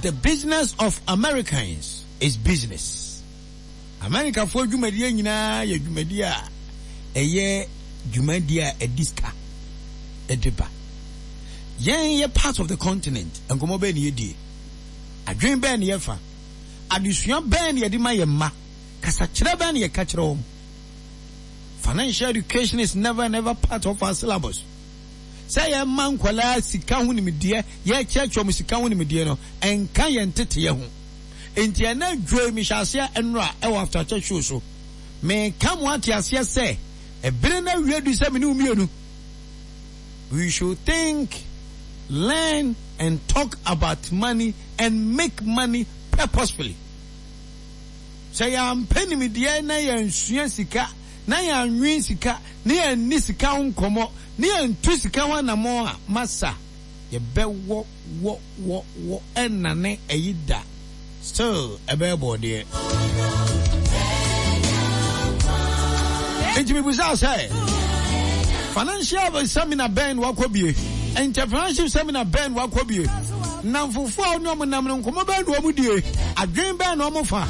The business of Americans is business. Amerikafoɔ dwumadie nyinaa yɛ dwumadie a ɛyɛ dwumadie a ɛde sika ɛde ba. Yɛn yɛ part of the continent, nkɔmmɔ bɛn na yɛdie? Adwene bɛn na yɛfa? Adesua bɛn na yɛde ma yɛn mma? Kasakyerɛ bɛn na yɛka kyerɛ wɔn? Financial education is never and ever part of our syllabus. Sɛ yɛma nkwadaa sika ho nimdeɛ, yɛkyerɛkyerɛ wɔn sika ho nimdeɛ no, ɛnka yɛn nteteɛ ho. Enti ɛnɛ dwoe mehyɛ aseɛ nnora ɛwɔ After Church show so. Meka mo ate aseɛ sɛ, ɛbere no awie du sɛ me ne wo mmienu. We should think, learn and talk about money and make money purposefully. Sɛ yɛampɛ nimdeɛ na yɛansua sika na yɛannwen sika na yɛanni sika ho nkɔmmɔ na yɛantu sika ho anammɔn a, masa, yɛbɛwɔ wɔ wɔ wɔ ɛnnane ayi da. Still ɛbɛyɛ bɔɔdeɛ. Nti mebusaa sɛ, financial seminar bɛn na wakɔ bie? Entrepreneurship seminar bɛn na wakɔ bie? Nnamfofo a wo ne wɔn nam no, nkɔmmɔ bɛn na wɔn die? Adwene bɛn na wɔn fa?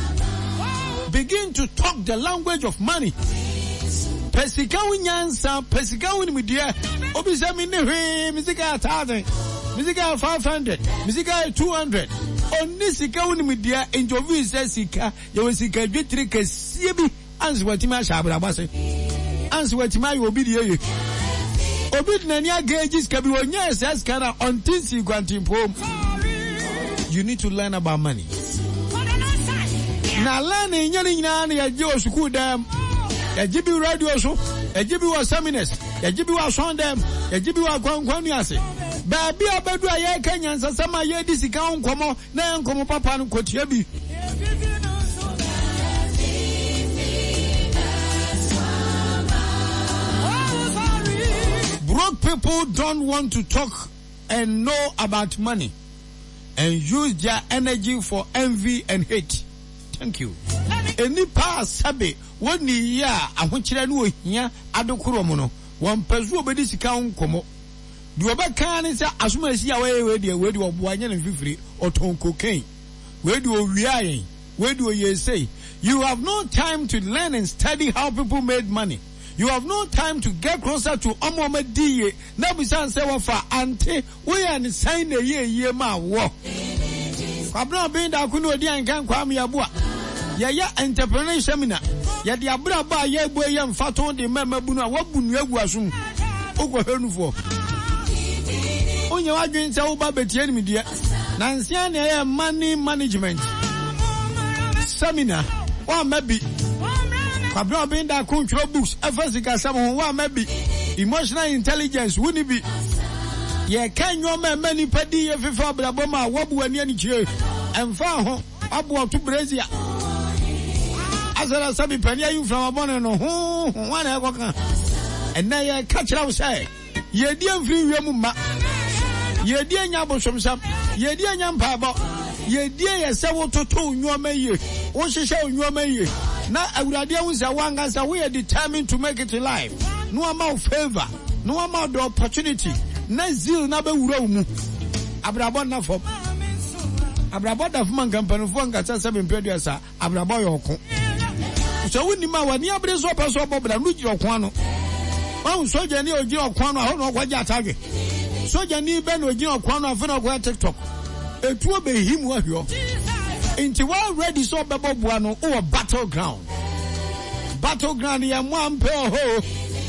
Begin to talk the language of money. Pɛ sika ho nyansa, pɛ sika ho nimdeɛ. Obi sɛ menni hwee, me sika yɛ 1,000, me sika yɛ 500, me sika yɛ 200. Onni sika ho nimdeɛ, nti ofi sɛ sika, yɛwɔ sika dwetire kɛseɛ bi. Ansa watumi ahyɛ abrabɔ ase. Ansa watumi ayɛ obi deɛ ye. Obi de n'ani agage sika bi, ɔnyaa saa sika no a, ɔnte nsii kwantempɔn mu. You need to learn about money. Na learning nyɛ ne nyinaa na yɛgye wɔ sukuu dan mu. Yɛgye bi radio so, yɛgye bi wɔ seminars, yɛgye bi wɔ asɔn dan mu, yɛgye bi wɔ akwankwan ase. Baabi a bɛdu a yɛreka nyansasɛm a yɛredi sika ho nkɔmmɔ Na yɛn nkɔmmɔ papa no kɔtia bi. Broke people don't want to talk and know about money and use their energy for envy and hate. Thank you. Nnipa a sɛbe wɔnni yie a ahokyerɛ ne ohia adekorɔ mu no, wɔmpɛ so wɔbɛdi sika ho nkɔmmɔ. Deɛ ɔbɛka ara ne sɛ asomasi a wayɛ wei deɛ, wei deɛ ɔboa nyɛ ne mfifire, ɔtɔn cocaine, wei deɛ ɔwiaa yɛn, wei deɛ ɔyɛɛ sei. You have no time to learn and study how people made money. You have no time to get closer to wɔn a wɔadi yie na bisa no sɛ wɔfa ante woyɛɛ no sɛn na ɛyɛɛ yie maa woɔ. Kwabena Obeng Darko ne Odiankan Kwame Yeboah Yɛyɛ entrepreneurship seminar. Yɛde abrabɔ a yɛrebɔ yi yɛ mfatoho de ma mmabunu a wɔabu nnua agu asom. Wokɔhwɛ nufoɔ. Wonyɛ w'adwene sɛ woba bɛtie nimdeɛ. Nansa na ɛyɛ money management seminar. Woamma bi. Kwabena Obeng Darko ntwerɛ books ɛfa sikasɛm ho. Woamma bi. Emotional intelligence wonni bi. Yɛka nneɛma a ɛma nnipa di yie fefa abrabɔ mu a woabu w'ani anikyire. Ɛmfa ho. Aboa to brazier. Asɛ na sɛbi panin ayi mframa bɔne no ho ho hwan na ɛkɔka. Ɛnɛ yɛka kyerɛ wo sɛ yɛdi mfiri wiem mma. Yɛdi anya abosomsɛm. Yɛdi anya mpaebɔ. Yɛdi yɛ sɛ wototo wo nneɛma yie. Wohyehyɛ wo nneɛma yie. Na Awurade ahu sɛ woankasa woyɛ determined to make it in life. Na wama wo favor. Na wama wo the opportunity. Na zeal na bɛwura wo mu. Abrabɔ nna fam. Abrabɔ da fam anka mpanimfoɔ nkasa sɛ mempɛ aduasa. Abrabɔ yɛ ɔko. Sɛ wonim a w'ani abere sɛ ɔpɛ sɛ ɔbɔ bra no gyina ɔko ano. Wahu sogyani a ɔgyina ɔko ano a hɔ na ɔkɔgye atadwe. Sogyani bɛ na ɔgyina ɔko ano afei na ɔkɔyɛ TikTok. Etuo bɛhim wahwiɔ. Nti wa ready sɛ ɔbɛbɔ boa no wowɔ battle ground. Battle ground yɛ mmoa mpɛ ɔhɔ o.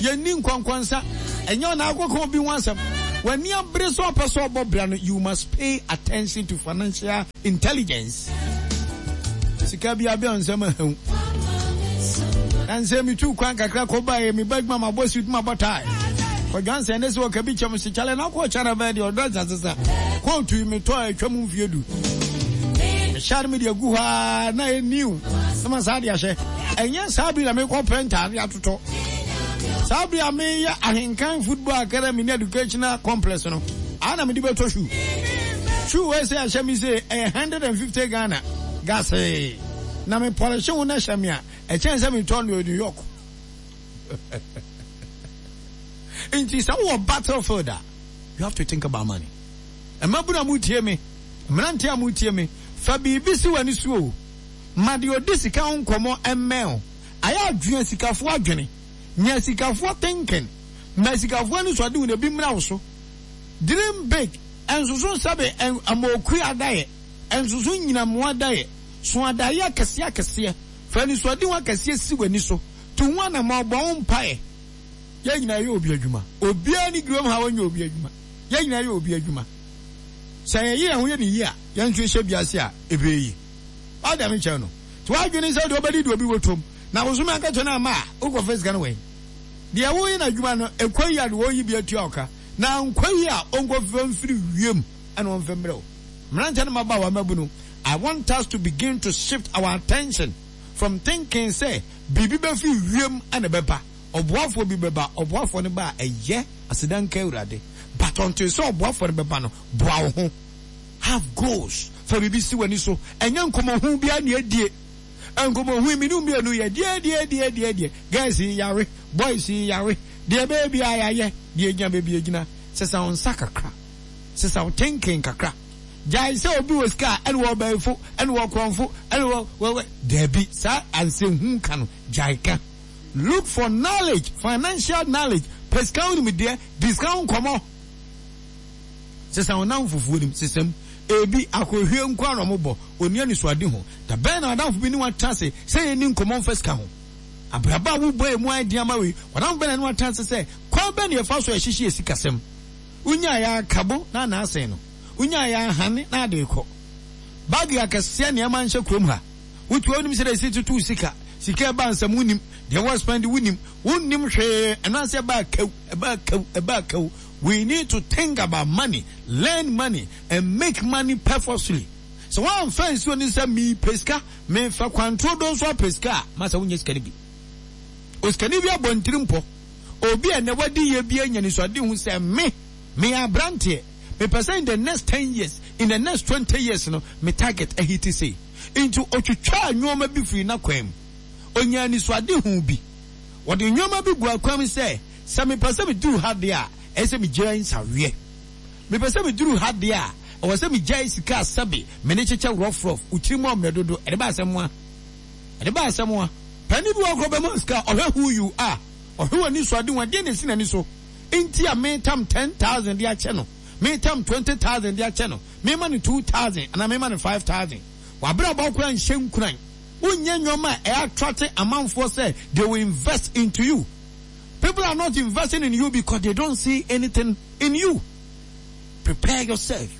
Yɛnni nkɔnkɔnsa. Ɛnyɛ ɔna akɔka obi ho asɛm. W'ani abere sɛ ɔpɛ sɛ ɔbɔ bra no, you must pay attention to financial intelligence. Sika bi abɛn nsɛm ahaw. Na nsɛ metu kwan kakra kɔ baeɛ, meba adwuma mabɔ suit mabɔ tie. Kɔdwan sɛ ne sɛ ɔka bi kyɛm se kyale na kɔ kyana bɛɛ deɛ ɔdɔ nsa sesa. Kootu yi metɔ a atwa mu mfie du. Mehyɛ no mede agu hɔ a na ɛyɛ new na ma saa de ahyɛ. Ɛnyɛ saa bi na mekɔ pɛ ntaade atotɔ. Saa bere a meyɛ Ahenkan Football Academy ne Educational Complex no, a na mede bɛtɔ shoe. Shoe wei sɛ ɛhyɛ me sei, ɛyɛ 150 Ghana gasee. Na me pɔlehye ho na ɛhyɛ me a, ɛkyɛn sɛ metɔ no New York. Nti sɛ wowɔ battlefield a, you have to think about money. Mmabunu a motie me. Mmeranteɛ a moretie me, fa biribi si w'ani so o. Ma deɛ ɔdi sika ho nkɔmmɔ mmɛn wo. Ayɛ adwene asikafoɔ adwene. Nya asikafoɔ thinking. Ma asikafoɔ anisoadehunu ebi mmra wo so. Dream big. Nsoso sɛbe amookua adaeɛ. Nsoso nnyinamoa adaeɛ. So adaeɛ akɛseɛ akɛseɛ. Fa anisoadehu akɛseɛ si w'ani so. Tu ho anammɔn, bɔ ho mpaeɛ. Yɛn nyinaa yɛ obi adwuma. Obiara nni kurom ha a ɔnyɛ obi adwuma. Yɛn nyinaa yɛ obi adwuma. Sɛ yɛyɛ yɛn ho yɛ no yie a, yɛn nso yɛhyɛ bi ase a, ɛbɛyɛ yie. Wate deɛ mekyerɛ no? Nti w'adwene sɛ deɛ wobɛdi deɛ obi bɔtɔm, na bosome akatua no amma a, wokɔfa sika no wɛn? Deɛ woyɛ no adwuma no, ɛkɔ yie a deɛ ɔyi bi atua wo ka, na ankɔ yie a, ɔnkɔfa mfiri wiem na ɔmfa mmerɛ wo. Mmeranteɛ ne mmabaawa mmabunu, I want us to begin to shift our attention from thinking sɛ biribi bɛfiri wiem na ɛbɛba, ɔboafoɔ bi bɛba, ɔboafoɔ no ba a, ɛyɛ, aseda nka Awurade, but until sɛ ɔboafoɔ no bɛba no, boa wo ho. Have goals, fa biribi si w'ani so, ɛnyɛ nkɔmmɔhu biara na ɛdie, nkɔmmɔhu yi me ne wo mmienu yɛ deɛ deɛ deɛ deɛ deɛ, girls yi yare, boys yi yare, deɛ ɛbɛyɛ biara yɛayɛ, deɛ ɛgyina baabi ɛgyina, sesa wo nsa kakra, sesa wo thinking kakra, gyae sɛ obi wɔ sika a ɛne wɔ ɔbɛɛfo, ɛne wɔ korɔmfo, ɛne wɔ wɔ wɔ, daabi, saa ansɛnhu ka no, gyae ka. Look for knowledge, financial knowledge, pɛ sika ho nimdeɛ, di sika ho nkɔmmɔ. Sesa wo nnamfofoɔ nim, sesa mu. Ebi, akɔhwie nko ara na wɔbɔ, ɔnni anisoadehu. Da bɛn na w'adamfo bi ne wo atena ase sɛ yɛnni nkɔmmɔ mfa sika ho? Abrabɔ a wobɔ a emu ayɛ den ama wo yi, w'adamfo bɛn na ɛne wo atena ase sɛ, kwan bɛn na yɛfa so a yɛhyehyɛ yɛn sikasɛm? Wonyaeɛ ara kabo na na asɛn no. Wonyaeɛ ara hane na ade rekɔ. Bag akɛseɛ nneɛma nhyɛ kurom ha. Wotu a wonim sɛdeɛ yɛsi toto wo sika. Sika ɛba nsam wonnim. Deɛ wɔ spend wonnim. Wonnim hwee. Ɛno ara sɛ ɛbaa kaw, ɛbaa kaw, ɛbaa kaw. We need to think about money, learn money and make money purposely. Sɛ woamfa ansi w'ani sɛ mepɛ sika, mefa kwantoro do nso apɛ sika a, masa wonnya sika no bi. Osikani bi abɔ ne tirim pɔ. Obi a ɛnnɛ wadi yie bi anya anisoadehu sɛ me, meyɛ aberanteɛ, mepɛ sɛ in the next ten years, in the next 20 years no, me target ahiti sei. Nti otwitwaa nnoɔma bi firii n'akwan mu. Onyaa anisoadehu bi. Wɔde nnoɔma bi guu akwan mu sɛ, Sɛ mepɛ sɛ meduru ha deɛ a, ɛyɛ sɛ megyae nsaweɛ. Mepɛ sɛ meduru ha deɛ a, ɛwɔ sɛ megyae sika a sɛbe me ne kyekyɛ rɔfrɔf, wo tiri mu ɔmmerɛ dodo, ɛde ba asɛm a. Ɛde ba asɛm a. Panin bi wɔ hɔ koraa ɔbɛma wo sika a, ɔhwɛ who you are, ɔhwɛ w'anisoadehu, ɛdeɛn na ɛsi n'ani so nti a metam 10,000 de akyɛ no, metam 20,000 de akyɛ no, mema no 2,000 anaa mema no 5,000. W'abrabɔ koraa nhyɛ nkuran. Wonyɛ nneɛma a ɛyɛ attracte amanfoɔ sɛ they will invest into you. People are not investing in you because they don't see anything in you. Prepare yourself.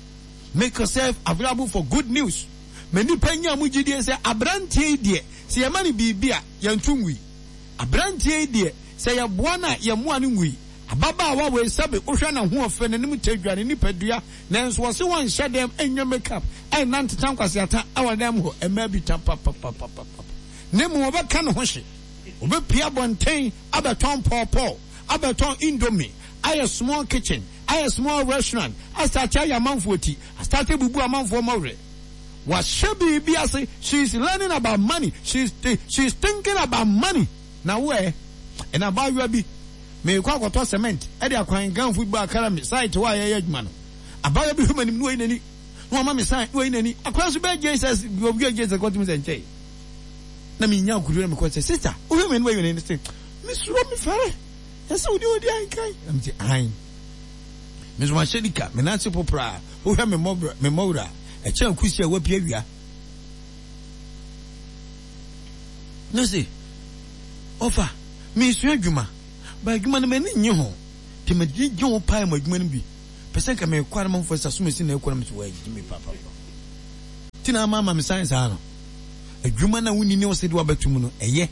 Make yourself available for good news. Ma nnipa nya mu gyidie sɛ aberanteɛ yi deɛ, sɛ yɛma no biribi a, yɛnto ngui. Aberanteɛ yi deɛ, sɛ yɛboa no a, yɛmmoa no ngui. Ababaawa wei sɛbe wohwɛ n'ahoɔfɛ, n'anim tadwa, ne nipadua, nanso wɔse wɔnhyɛ dɛm nyɛ make up, ɛnna nteta nkwaseata wɔ dɛm hɔ, mmaa bi ta papapapapapa. Na mmom wɔbɛka ne ho hye. Wɔbɛpue abɔnten abɛtɔn pawpaw, abɛtɔn indomie, ayɛ small kitchen, ayɛ small restaurant, astate ayɛ amanfoɔ ti, astate abubu amanfoɔ mmɔwerɛ. Wahyɛ biribi ase, she is learning about money, she is, she is thinking about money. Na wo ɛ? Ɛna abaayewa bi, merekɔ akɔtɔ cement de akwan Ganfo bi bɔ akara me site hɔ a yɛyɛ adwuma no. Abaayewa bi hwɛ m'anim na wayi n'ani, na wama me sign na wayi n'ani. Akwadaa nso bɛyɛ JSS, obi a JSS kɔtumi sɛ nkyɛe. Na menya akokoduru na mekɔ sɛ, Sista, wohwɛ m'anim ayi w'ani sɛ, mesuro mefɛre. Ɛsɛ wode odi ankan. Na mete ahan. Me nso mahyɛ nika, me nan ase popraa. Wohwɛ me mmɔbra, me mmɔwura, ɛkyɛn kusi a wapia wia. Na se, ɔfa, mesua adwuma, ba adwuma no m'ani nnye ho. Nti m'ani gye ho paa mu adwuma no bi. Pɛ sɛ nka mekɔ a na manfoɔ sɛ asomasi na ɛkɔ na mese wɔagye me papapa. Nti na ama ama me sign saa no. Adwuma no a wonni ne wo sɛ de wabɛto mu no, ɛyɛ.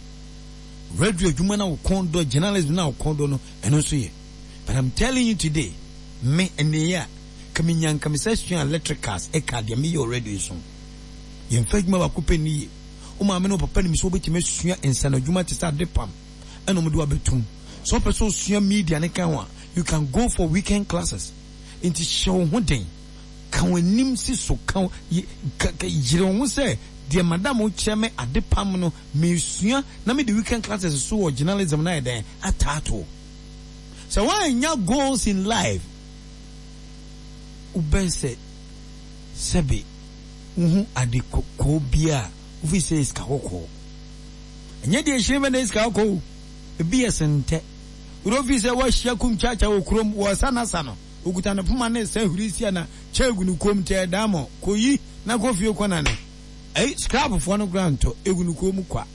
Radio adwuma no a wo kɔn dɔ, journalism no a wo kɔn dɔ no, ɛno nso yɛ. But I'm telling you today, me, ɛnɛ yi a, ka menya nka me sa sua electricals ɛka deɛ meyɛ wɔ radio yi so. Yɛmfa adwuma baako pɛ nni yie. Wo maame ne wo papa nim sɛ wobɛtumi asua nsano adwuma te sɛ adepam ɛna wɔde wo abɛto mu. Sɛ wopɛ sɛ wosua media ne ka ho a, you can go for weekend classes. Nti hyɛ wo ho den. Ka w'anim si so, ka, ka, ka, yere wo ho sɛ, deɛ madam kyerɛ me ade pam no, mesua na mede weekend classes so wɔ journalism no ayɛ dɛn ataatoɔ. Sɛ woannya goals in life, wobɛn sɛ. Sɛbe wohu ade kɔkɔɔ bi a, wofi sɛ ɛyɛ sika kɔkɔɔ. Ɛnyɛ deɛ ɛhyerɛn bɛ na ɛyɛ sika kɔkɔɔ o. Ebi yɛ sentɛ. Wode wofi sɛ woahyia kum kyaakyaa wɔ kurom, wɔresa n'asa no, okuta ne poma ne resa hurisia na kyɛ gu ne kɔn mu nti ɛyɛ daamɔ. Kɔyi na kɔ fie kɔnane. Ɛyi, scrapfoɔ no koraa ntɔ, ɛgu ne kɔn mu kwa.